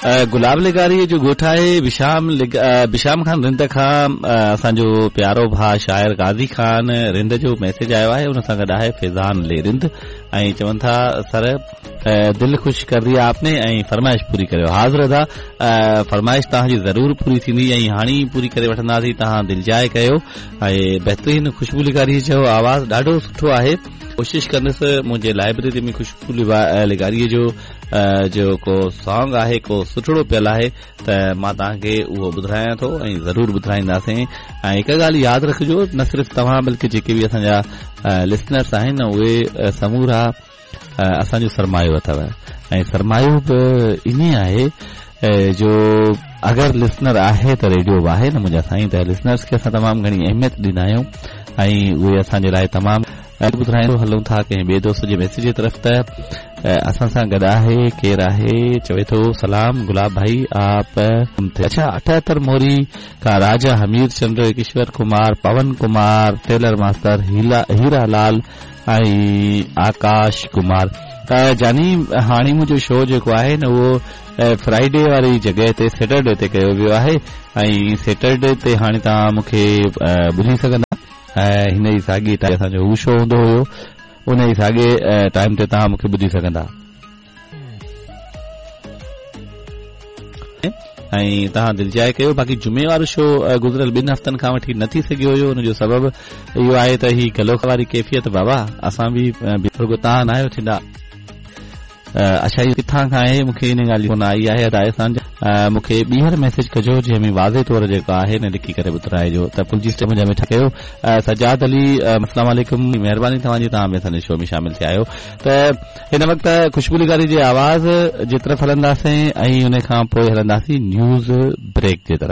گلاب لغاريء جو ڳوٺ آهي بشام بشام خان رند کان اسان جو پيارو ڀاء شاعر غازي خان رند جو ميسيج آيو آهي ان سان گڏ آهي فيضان علي رند ۽ چون ٿا سر دل خوش ڪر ديا آپ ني ۽ فرمائش پوري ڪريو حاضر ادا فرمائش توهان جي ضرور پوري ٿيندي ۽ هاڻي ئي پوري ڪري وٺنداسين توهان دلجاء ڪيو ۽ بهترين خوشبو لغاري جو آواز ڏاڍو سٺو آهي ڪوشش ڪندس منهنجي لائبريري ۾ خوشبو لغاري جو جو ڪو سانگ آهي ڪو سٺڙو پيل آهي ته مان توهان کي اهو ٻڌرايان ٿو ۽ ضرور ٻڌرائينداسين ۽ هڪ ڳالهه ياد رکجو نه صرف توهان بلڪه جيڪي به اسان جا لسنرس آهن اهي سمورا اسان جو سرمايو اٿو ۽ سرمايو به ائين آهي جو اگر لسنر آهي ته ريڊيو به آهي نه منهنجا سائين ته لسنرس کي اسان تمام گهڻي اهميت ڏيندا آهيون ۽ اهي اسان جي لاء تمام ٻڌرائيندو هلون ٿا ڪنهن ٻئي دوست جي ميسيج جي طرف ته اسان سان گڏ آهي ڪير آهي چوي ٿو سلام گلاب ڀائي آپ اڇا 78 موري کان راجا حمير چندر ڪشور ڪمار پون ڪمار ٽيلر ماستر هيرا لال ۽ آڪاش ڪمار جاني هاڻي منهنجو شو جيڪو آهي نه اهو فرائيڊي واري جڳهه تي سيٽرڊي تي ڪيو ويو آهي ۽ سيٽرڊي تي هاڻي توهان مون کي ٻڌي سگهندا ۽ هن ئي ساڳي ٽائيم اسان جو هو شو هوندو هيو ان ئي ساڳي ٽائيم تي توهان مون کي ٻڌي سگهندا. ۽ توهان دلجاء ڪيو باقي جمعي وارو شو گذريل ٻن هفتن کان وٺي نه ٿي سگهيو هيو ان جو سبب اهو آهي ته هي گلو واري ڪيفيت بابا اسان به رڳو توهان ناهيو ٿيندا اڇا اهو ڪٿان کان آهي مون کي ان ڳالهه جي ڪونه آئي آهي ادا احسان مون کي ٻيهر ميسيج ڪجو جنهن ۾ واضح طور جيڪو آهي نه لکي ڪري ٻڌرائجو ته پلجي سٽ منهنجا مٺا ڪيو سجاد علي السلام عليڪم مهرباني توهان جي توهان به اسان جي شو ۾ شامل ٿيا آهيو ته هن وقت خوشبو لغاري جي آواز جي طرف هلنداسين ۽ ان کان پوء هلنداسين نيوز بريڪ جي طرف.